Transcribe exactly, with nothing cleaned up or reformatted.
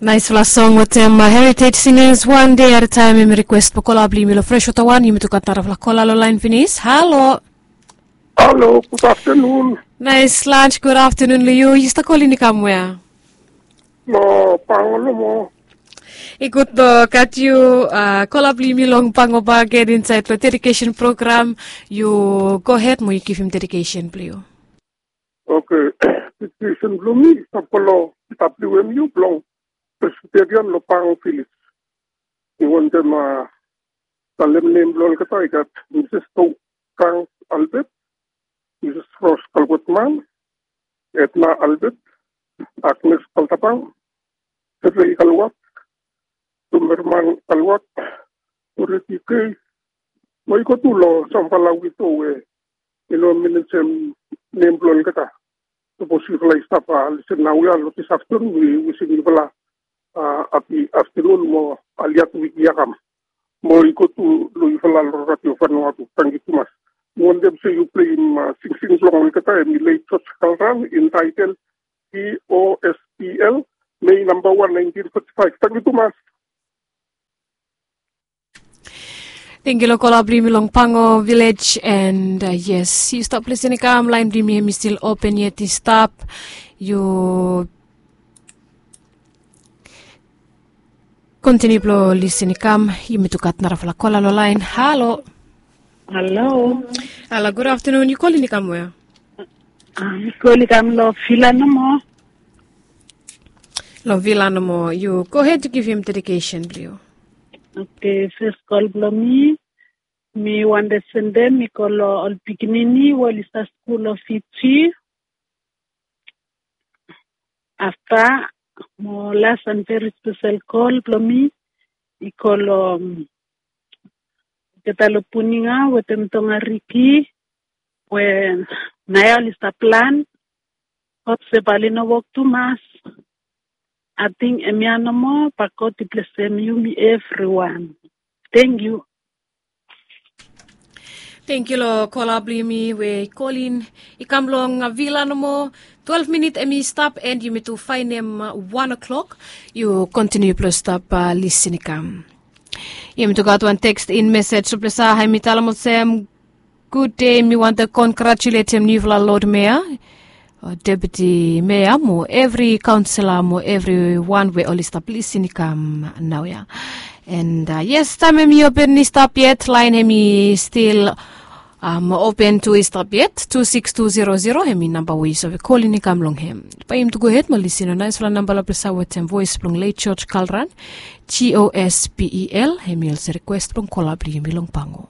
Naisfala song wetem Heritage Singers, One Day at a Time. Yumi rikwes blong kola blong yumi long Freshwater One. Yumi tu gat narafala kola long lain finis. Halo. Halo, gudaftanun. Nais lans, gudaftanun long yu. Yu stap kolin i kam wea? Long Pango nomo. I gud long gat yu. Kola blong yumi long Pango bakegen insaed long dedikesen program. Yu gohed mo yu givim dedikesen blong yu. Oke. Dedikesen blong mi i stap go long W M U blong Presbyterian long Pango Viles. Mi wantem talem nem blong olgeta i gat Mises Tokang Albert, Mises Ros Kalkotman, Edna Albert, Agnes Kaltapang, Serei Kalwak, Tumerman Kalwak, Puriti Kei, mo i go tu long samfala wido we i no menem nem blong olgeta. Sapos yufala i stap lisen naoia long dis aftanun, mi wisim yufala hapi aftanun mo aliat wik ya kam. Mo i go tu long yufala long Radio Vanuatu. Tangkiu tumas. Mi wantem se yu pleim singsing blong olgeta, hemi Late George Kalran, intaetel P O S P L, Mei namba wan, naentin foti faef. Tangkiu tumas. Tangkiu long kola blong yumi long Pango Vilej. And yes, yu stap lisin i kam, laen blong yumi hemi stil open yet i stap. Yu kontiniu blong lisin i kam. Yumi tu gat narafala kola long laen. Halo. Halo. Halo, gudaftanun. Yu kolin i kam wea? Mi kolin i kam long Vila nomo. Long Vila nomo. Yu gohed yu givim dedikesen blong yu. Oke, fes kol blong mi, mi wantem sendem i go long ol pikinini we oli stap skul long Fiji. Afta, mo las and very special kol blong mi i go long olgeta long Puninga wetem Tongariki we naoia oli stap plan. Hop se bae oli no wok tumas. Ating hemia nomo, bae God i blesem yumi evriwan. Tangkiu. Tangkiu long kola blong yumi we i kolin i kam long Vila nomo. Twelef minit hemi stap and yumi tu faenem wan o'clock. Yu kontiniu blong stap lisin i kam. Yumi tu gat wan teksting mesej long ples ya, hemi talem olsem, gud dei, mi wantem kongratuletem niufala Lod Mea, Deputi Mea mo evri kaonsela mo evriwan we oli stap lisin i kam naoia. And yes, taem hemi open i stap yet, laen hemi stil open tu i stap yet, tu sikis tu zero zero, hemi namba we yu save kolin i kam long hem. Bae yumi tu gohed mo lisin long naesfala namba long ples ya wetem voes blong Late George Kalran, G O S P E L, hemi olsem rikwes blong kola blong yumi long Pango.